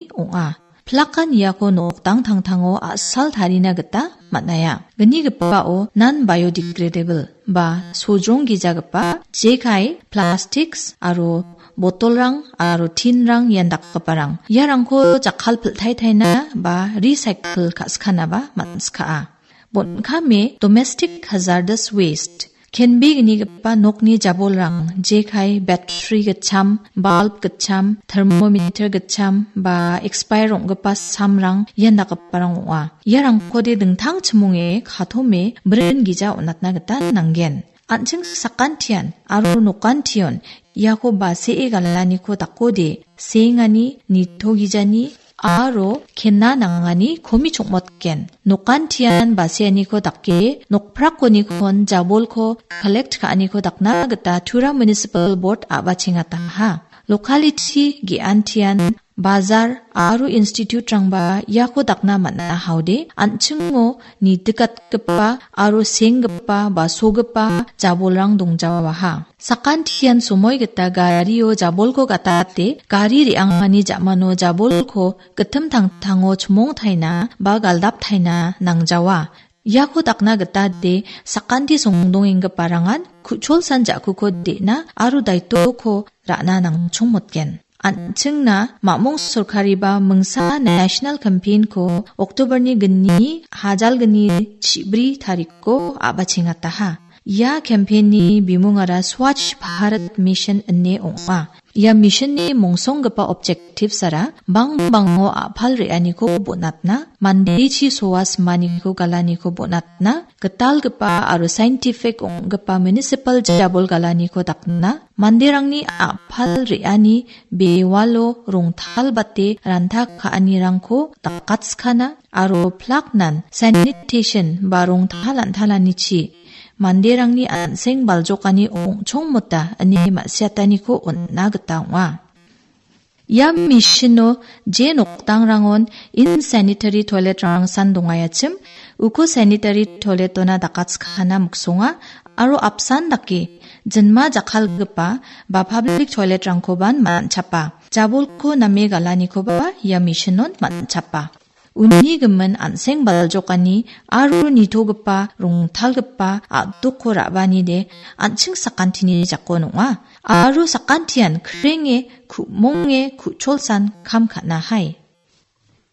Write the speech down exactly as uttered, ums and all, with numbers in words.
ong·a. Plakan iako nokdang tangtango a·sal tarina gita man·aia. Gnigipao non-biodegradable ba sojrong gijagipa jekai, plastiks aro botolrang aro tinrang ian dakgiparang. Iarangko jakkal piltaitaina ba recycle ka·sikanaba man·skaa. Bon·kame domestic hazardous waste, kenbe gnigipa nokni jabolrang, jekai, battery gitcham, bulb gitcham, thermometer gitcham, ba expire ong·gipa samrang ian dakgiparang ong·a. Iarangkode dingtang chimonge katome brin gija on·atna gita nanggen. An·ching sakantian aro nokantion iako basee galaniko dakode, seengani, nitogijani, aro kena nangani komi chongmotgen. Nokantian baseaniko dake, nokprakonikon jabolko collect ka·aniko dakna gita Tura Municipal Board a·bachengataha. Locality ge·antian bazar aro institute-rangba iako dakna man·a haode, an·chingo nitikatgipa aro senggipa ba sogipa jabolrang dongjawaha. Sakantian somoi gita gario jabolko gatate, gari re·angani ja·mano jabolko gitim tangtango chimongtaina ba galdaptaina nangjawa. Iako dakna gita de sakanti songdongenggiparangan ku·cholsan ja·kuko de·na aro daitoko ra·na nangchongmotgen. An·chingna mamung sorkariba mingsa national campaign-ko October-ni gni, hajal gni chibri tarikko a·bachengataha. Ia campaign-ni bimungara Swachh Bharat Mission ine ong·a. Ia mission-ni mongsonggipa objectives-ara bangbango a·pal re·aniko bonatna, mandechi soa simaniko galaniko bonatna, gitalgipa aro scientific ong·gipa municipal jabol galaniko dakna, manderangni a·pal re·ani bewalo rongtalbate ranta ka·anirangko dakatskana aro plaknan sanitation ba rongtal an·talanichi manderangni an·seng baljokani ong·chongmota ine ma·siataniko on·na gita ong·a. Ia mission-o je nokdangrangon insanitary toilet-rangsan dongaiachim, uko sanitary toilet-ona dakatskana miksonga aro apsan dake jinma jakkalgipa ba public toilet-rangkoban man·chapa. Jabolko name galanikoba ia mission-on man·chapa. Uni gimin an·seng baljokani aro nitogipa rongtalgipa a·dokko ra·baanide an·ching sakantini jakon ong·a. Aro sakantian krenge, ku·monge, ku·cholsan kam ka·nahai.